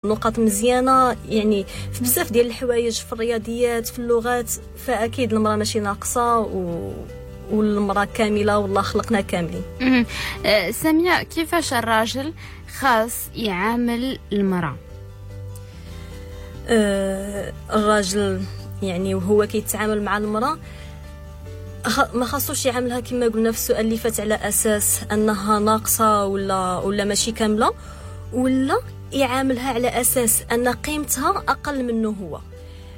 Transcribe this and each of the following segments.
نقاط مزيانه، يعني في بزاف ديال الحوايج، في الرياضيات، في اللغات. فاكيد المراة ماشي ناقصه والمراة كامله، والله خلقنا كاملين. سامية، كيفاش الراجل خاص يعامل المراه؟ الراجل يعني وهو كيتعامل مع المراة ما خاصوش يعاملها كما قلنا في السؤال اللي فات على اساس انها ناقصه ولا ماشي كامله، ولا يعاملها على اساس ان قيمتها اقل منه هو.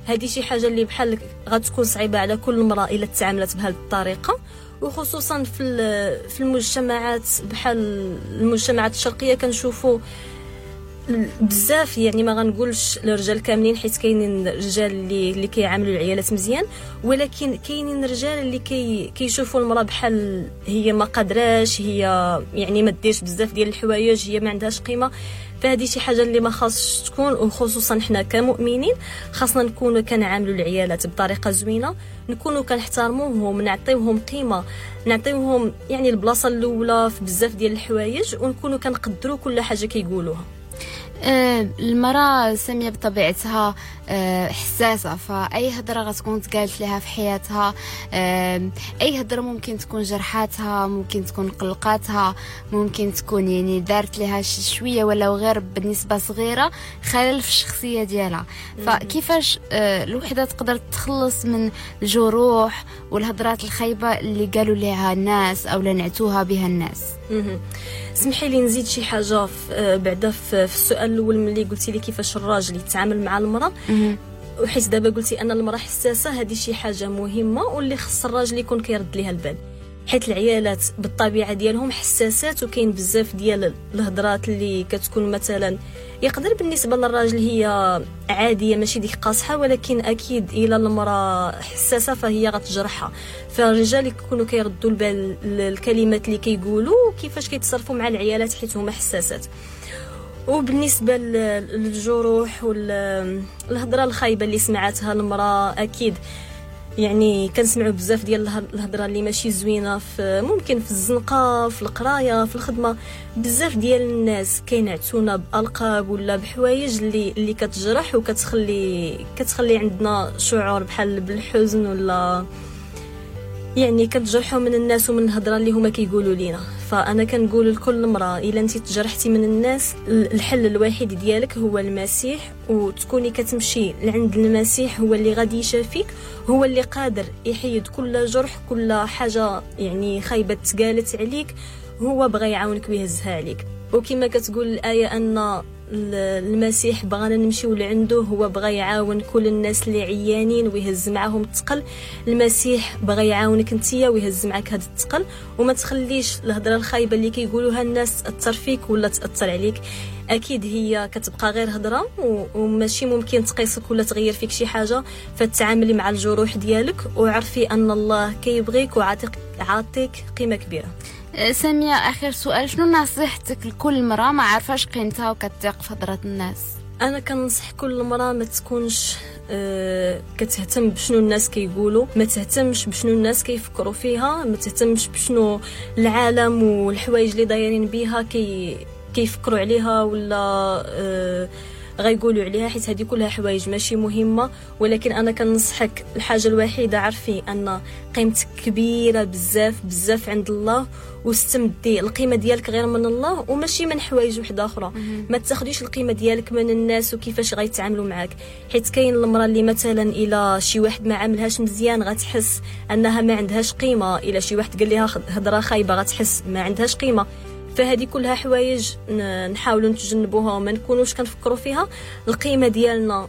هذه شي حاجة اللي بحال غتكون صعيبة على كل امراة الا تعاملت بهذه الطريقه، وخصوصا في المجتمعات بحال المجتمعات الشرقية كنشوفوا بزاف، يعني ما غنقولش الرجال كاملين حيت كاينين رجال اللي كيعاملوا العيالات مزيان، ولكن كاينين رجال اللي كيشوفوا المراة بحال هي ما قادراش، هي يعني ما ديرش بزاف ديال الحوايج، هي ما عندهاش قيمة. فهذه شي حاجة اللي ما خاصش تكون، وخصوصا حنا كمؤمنين خاصنا نكونوا كنعاملوا العيالات بطريقة زوينة، نكونوا كنحترموهم، نعطيوهم قيمة، نعطيوهم يعني البلاصة الاولى في بزاف ديال الحوايج، ونكونوا كنقدروا كل حاجة كيقولوها. المرأة سامية بطبيعتها حساسة، فأي هضرة غتكون تقالت لها في حياتها، أي هضرة ممكن تكون جرحاتها، ممكن تكون قلقاتها، ممكن تكون يعني دارت لها شوية ولو غير بنسبة صغيرة خلل في الشخصية ديالها. فكيفاش الوحدة تقدر تتخلص من الجروح والهضرات الخايبة اللي قالوا لها الناس أو لنعتوها بها الناس؟ سمحي لي نزيد شي حاجة بعدا في السؤال الاول ملي قلتي لي كيفاش الراجل يتعامل مع المراة، وحيت دابا قلتي ان المراة حساسة، هذه شي حاجة مهمة واللي خص الراجل يكون كيرد ليها البال، حيت العيالات بالطبيعة ديالهم حساسات، وكاين بزاف ديال الهضرات اللي كتكون مثلا يقدر بالنسبة للراجل هي عادية ماشي ديك قاصحة، ولكن اكيد الى المراة حساسة فهي غتجرحها. فالرجال يكونوا كيردوا البال الكلمات اللي كيقولوا وكيفاش كيتصرفوا مع العيالات حيت هما حساسات. وبالنسبة للجروح والهضره الخايبة اللي سمعتها المراة، اكيد يعني كنسمعوا بزاف ديال الهضرة اللي ماشي زوينة، في ممكن في الزنقة، في القراية، في الخدمة، بزاف ديال الناس كينعتونا بالقاب ولا بحوايج اللي كتجرح وكتخلي عندنا شعور بحال بالحزن، ولا يعني كتجرحوا من الناس ومن الهضرة اللي هما كيقولوا لينا. فانا كنقول لكل امراة الا انت تجرحتي من الناس، الحل الوحيد ديالك هو المسيح، وتكوني كتمشي لعند المسيح، هو اللي غادي يشافيك، هو اللي قادر يحيد كل جرح، كل حاجة يعني خايبة تقالت عليك، هو بغى يعاونك ويهزها عليك. وكما كتقول الايه ان المسيح بغانا نمشيو لعنده، هو بغى يعاون كل الناس اللي عيانين ويهز معاهم الثقل. المسيح بغى يعاونك انتيا ويهز معاك هذا الثقل، وما تخليش الهضرة الخايبة اللي كيقولوها الناس تاثر فيك ولا تاثر عليك. اكيد هي كتبقى غير هضره وماشي ممكن تقيسك ولا تغير فيك شي حاجة. فتعاملي مع الجروح ديالك وعرفي ان الله كيبغيك وعاطيك قيمة كبيرة. سامية، آخر سؤال، شنو نصيحتك لكل امرأة ما عارفاش قيمتها وكتثق في هضرة الناس؟ أنا كنصح كل امرأة ما تكونش كتهتم بشنو الناس كيقولوا، ما تهتمش بشنو الناس كيفكروا فيها، ما تهتمش بشنو العالم والحوايج اللي دايرين بيها كيفكروا عليها ولا غيقولوا عليها، حيت هذه كلها حوايج ماشي مهمة. ولكن انا كنصحك الحاجة الوحيدة، عرفي ان قيمتك كبيرة بزاف بزاف عند الله، واستمدي القيمة ديالك غير من الله وماشي من حوايج وحده اخرى. ما تاخديش القيمة ديالك من الناس وكيفاش غيتعاملوا معاك، حيت كاين المراة اللي مثلا الى شي واحد ما عاملهاش مزيان غتحس انها ما عندهاش قيمة، الى شي واحد قال لها هضره خايبة غتحس ما عندهاش قيمة. فهذه كلها حوايج نحاولوا نتجنبوها وما نكونوش كنفكروا فيها. القيمة ديالنا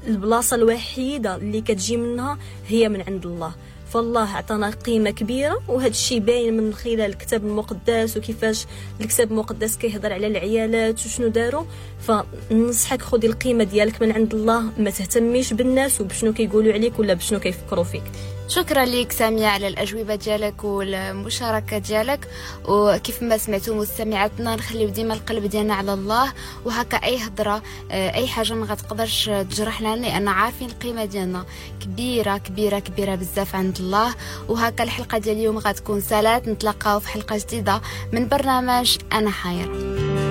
البلاصة الوحيدة اللي كتجي منها هي من عند الله، فالله عطانا قيمة كبيرة، وهذا الشيء باين من خلال الكتاب المقدس وكيفاش الكتاب المقدس كيهضر على العيالات وشنو داروا. فننصحك خذي القيمة ديالك من عند الله، ما تهتميش بالناس وبشنو كيقولوا عليك ولا بشنو كيفكروا فيك. شكرا لك سامية على الأجوبة ديالك والمشاركة ديالك. وكيف ما سمعتوا مستمعاتنا، نخليو ديما القلب ديالنا على الله، وهكا أي هضرة أي حاجة ما غتقدرش تجرحنا، لأن عارفين القيمة ديالنا كبيرة كبيرة كبيرة بزاف عند الله. وهكا الحلقة ديال اليوم غتكون سالات، نتلاقاو في حلقة جديدة من برنامج أنا حايرة.